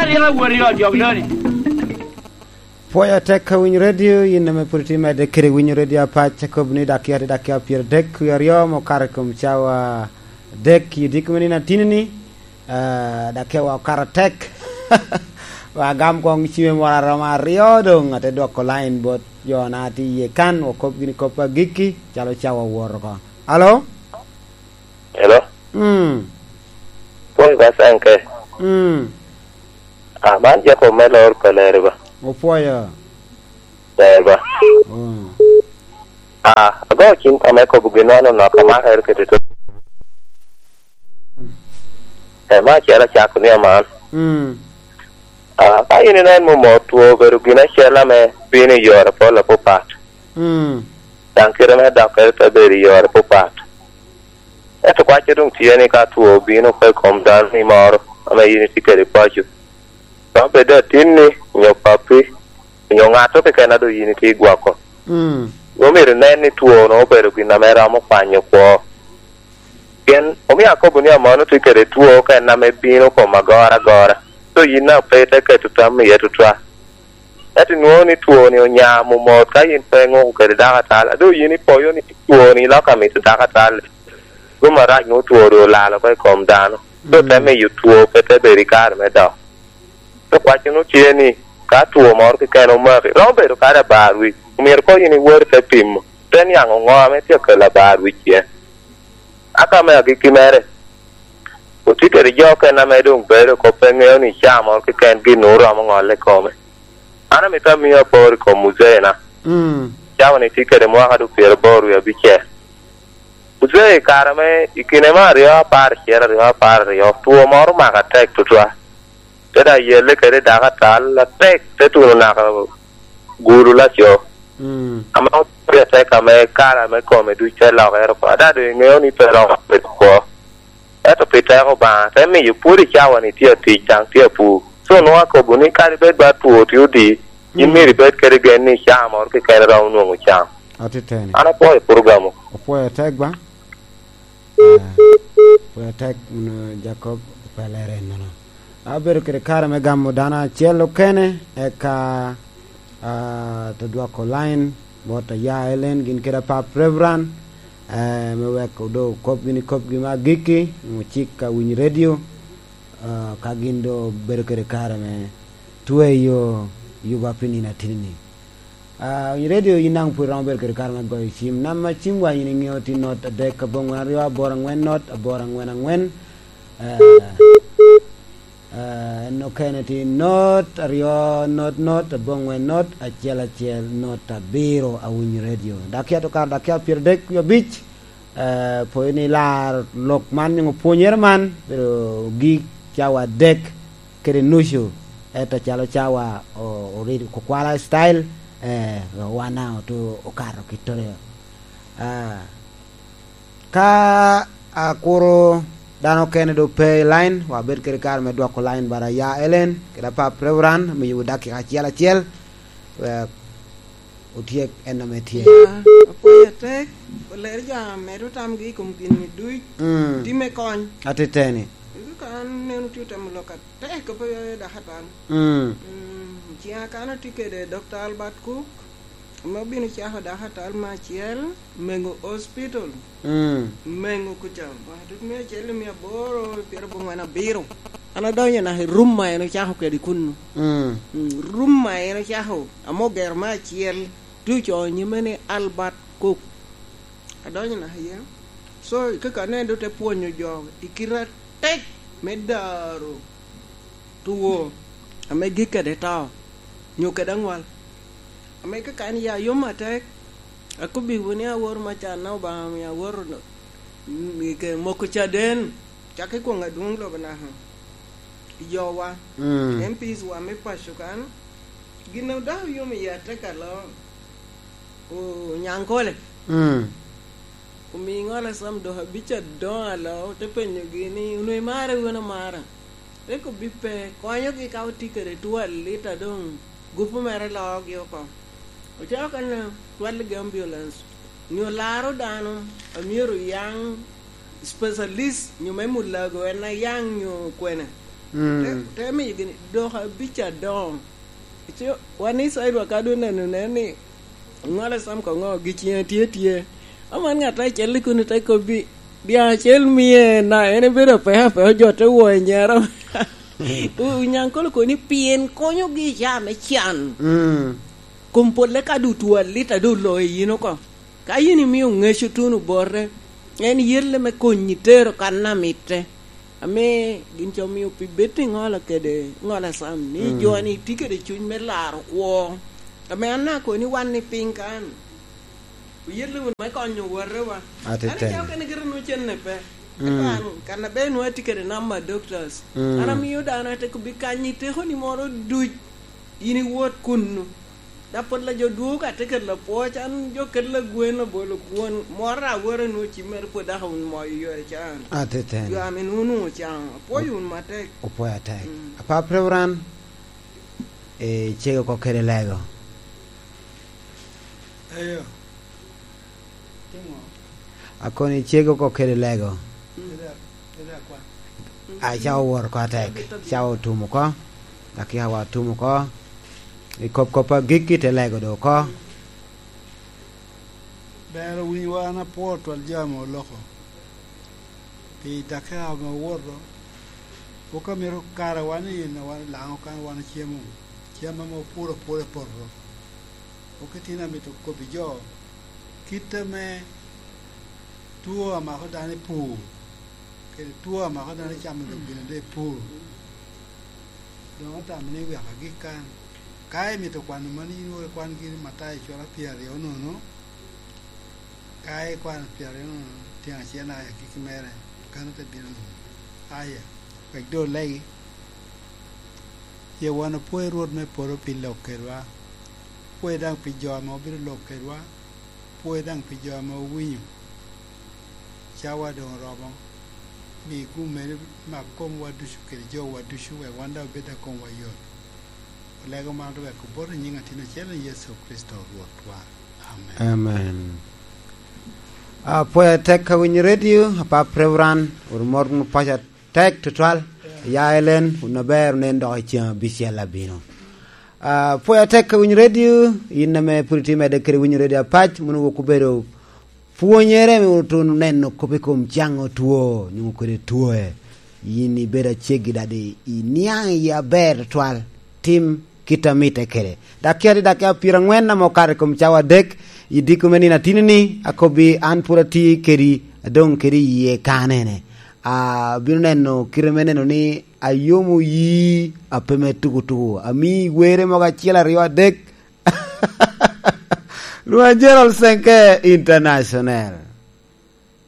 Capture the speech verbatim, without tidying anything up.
Yin awot i ot jok doni. Pwoyo atek ka winyo redio, yin ame pwod itye medde kede winyo redio apac, akobo ni dakiya tye dakiya pyeradek wie aryo ma okato i kom cawa adek i odiko me nino atini-ni. Ah, dakiya wa okato atek. Wa agam koŋ cimme moro aromo aryo doŋ, ate dwoko lain bot jo na tye iye kan, wakop gini kop agikki, calo cawa owoto oko. Alo? Hello? Mm. Pwony ba Sanke. Mm. Ah, man Jacob me lor Kaleri ba. Opwoyo. Ber ba. Mm. Ah, ago cim ka me kobo gin man onok amaka ero kete to. Eh, ma acel acako ni aman. Mm. Ah, ka in inen momo two obedo gin acel ame bino i yore pol apapat. Mm. Daŋ kite me dokkere te bedo i yore apapat. Ento kwacce doŋ tye ni ka two obino oko i kom dano ni moro ame yin itye kede paco, romo bedo atinni, onyo pappi, onyo ŋatto keken a doŋ yin itye gwoko. Mm. Omyero inen ni two-nu obedo gin ame romo kwanyo kwo. Pien omio akobo ni amono tye kede two oko en ame bino kom agora agora, so yin daŋ pe ite keto tam iye tutwal. Ento inwoŋo ni two-ni onya momot ka yin pe iŋuko kede dako atal, a doŋ yin ipoyo ni two-ni lok amito dako atal. Gum arac nwoŋo two doŋ olalo oko i kom dano, so te Mm. miyo two pe te bedo i kare me dok. So kwacci nwoŋo tye ni, ka two moro keken omaki, romo bedo kadi abar wic, omyero koŋ yin iwot ite pimo, ite niaŋ oŋo ame tye akelo abar wic iye. Aka me agikki mere, otye kede jo okene ame doŋ bedo oko pe ŋeo ni caa moro keken gin nwoŋo romo ŋolle i kome. An amito amio apor i kom muzeina. Mm. Cawa-ni tye kede mwaka doŋ pyeraboro wie abicel. Muzei i kare ame i kine me aryo apar acel, aryo apar aryo, two moro omaka atek tutwal. Te daŋ yelle kede dako atal atek, te tuno naka gulu laco. Mm. Ame otye atek ame kare ame kome duc te lokere oko. Ada doŋ iŋeo ni pe romo bedo kwo. Ento pi teko Obaŋa, te miyo pwod i cawa-ni tye atic, daŋ tye apur. So, nwoŋo akobo ni kadi bed ba two tye odi, yin Mm. myero ibed kede gen ni caa moro keken romo nwoŋo cam. Atiteni. An apwoyo program-mu. Opwoyo tek ba? Ah, opwoyo tek, mm, Jacob opelere ennono. Abedo kede kare me gamo dano acel okene, eka, ah, te dwoko line bot aya Ellen gin kede apap Reverend, eh, me wek odo kop gini kopgi me agikki, nwoŋo cik ka winyo redio, ah, ka gin do bedo kede kare me tweyo yuba pi nino atini-ni. Ah, i redio yin daŋ pwod iromo bedo kede kare me goyo cim. Namba cimwa yin iŋeo tye not adek aboŋwen aryo aboro aŋwen not aboro aŋwen aŋwen. Ah, ah, en okene tye not aryo not not aboŋwen not acel acel not abiro awinyo redio. Dakiya to kare dakiya pyeradek wie abic. Eh, pwod ni laro lok man nyo pwonyere man, pero gik cawa adek kede nucu, ento calo cawa o-, oridi kukwala style, eh, wan daŋ otu okato kittoro. Ah, ka akuro dano okene do pe i line, wabed kede kare me dwoko line bara ya Ellen, kede apap Reverend, miyo dakika acel acel, wek otyek en ame tye. Ya, apwoyo atek, oler jo amedo tamgi i kom gin-ni duc, mm, tye me kony. Atiteni. Eka an neno tye otemo lok atek, pe dok atal. Mm. Mm, ciŋa kan atye kede Dokta Albert Cook, ame obino cako dok atal me acel, Mengo Hospital. Mm. Mengo kuca, wa, tut mia acel i mia aboro, pyerabongwen abiro. An adonyo naka i rum ma en ocako kede kunnu. Mm. Mm, rum ma en ocako, ame ogero me acel, tye ocoo nyime ni Albert Cook. Adonyo naka iye. So, i kaka aneno doŋ te pwonyo jo i kite atek me daro two ame gik kede to, nyo kede aŋwal. Ame kaka en ya yom atek, akobbiwu ni awor me canna Obaŋa omio awor, mm, i ke moko caden, cak i kwoŋ adwoŋ lobo naka i jowa, mm, M Ps wa me paco kan, gin a dok yom iye atek alo, o-, Onyankole. Mm. Omiŋo Alasam dok abic adoŋo alo, te penyogi ni, "Onwoŋo imara wun amara?" Te kobbi pe, konyogi ka otye kede two alit a doŋ gupu mere loogi oko. Ocako kene twalligi ambulance, nyo laro dano a myero oyaŋ specialist, nyo me mulago en a yaŋ nyo kwene. Mm. Te, te miyo gini, dok abic adoŋo. Ico, wan Icrael wa ka doŋ neno nen ni, ŋola sam ka ŋo, gi ciŋe tye tye. Aman ŋat acel i kun te kobbi, "Dyaŋ acel mie na, en ebedo apeke apeke, ojotte wo i nyero." Onyaŋ kolo koni pien konyogi i caa me can. Mm. Kom polle ka doŋ otwo alita doŋ oloyo yin oko. Ka yin imio ŋeco tuno bote, en yelle me konyi tero kan a mitte. Ame gin ca omio pi bedo i ŋola kede ŋola sam, ni Mm. jo-ni tye kede cuny me laro kwo. Ame an akoni wan i piny kan, oyelle wunu me konyo owotewa. Atiteni. An acalo kene gire nwoŋo cenne pe. Mm. Ento an, kan aber nwoŋo atye kede namba doctors. Mm. An amio dano ate kobbi kanyi tekoni moro duc. In iwot kunnu. Dok pwod la jo dwogo ka te kelo apwoc, an jo kelo agwen obolo kwon. Moro aworo nwoŋo cimmere pwod dok wun moyo yore can. Atiteni. Jo ame nwoŋo nwoŋo can. Apwoyo wun matek. Opwoyo atek. Mm. Apa Prevran, eh, cego oko kede lego. Eyo. Timo. Akoni cego oko kede lego. Mm. Kede, kede akwa. A, ca owor oko atek. Ca otum oko. Dakika wa otum oko. I kop kop agikki te lego do oko. Ber owinyo wa, an apwoo twal jo ame oloko. Pi dakika ame owoto, pwod amito kara wan i en, wan Laŋo kan wan ocemo cam ame opuro apura i poto. Pwod itino amito kobbi jo kit ame two amako dano i pur, kede two amako dano i camo lok gin ade i pur. Doŋ atamo ni wek agik kan. Ka imito kwano mano, in wot ikwan giri Matayo cura pyeraryo nono. Ka ikwano pyeraryo nono, tyen acel aya agikki mere, kan ote bino nono. Aya, wek doŋ olegi. Ye wan opwoyo Rwot me polo pi lok kedwa. Pwoyo daŋ pi jo ame obino lok kedwa. Pwoyo daŋ pi jo ame owinyo. Cawa doŋ oromo. Mi gum meri mak komwa ducu kede jowa ducu, wek wan daŋ obed a komwa yot. Olego man wek obot i nyiŋ Atin acel, Yecu Kricito Rwotwa. Amen. Amen. Apwoyo atek ka winyo redio, Apap Reverend, wot mot wunu paco atek tutwal. Ya Elen, wun aber, onen dok i ceng abicel abino. Apwoyo atek ka winyo redio, in ame pwod itye medde kede winyo redio apac, mono wok obedo pwonyere me otun oneno kop i kom caŋo two, nyuŋo kede twoe. Yin ibedo aceggi dadi, iniaŋ i yie aber tutwal, tim kit a mitte kede. Dakika tye dakika pyerangwen ame okato i kom cawa adek, i diko me nino atini-ni, akobbi an pwod atye kedi, adoŋ kede i yie kanene. Abino neno kite me neno ni ayomo yi a pe me tuku tuku. Ami were mogo acel aryo adek, Lwak Gerald Senke International.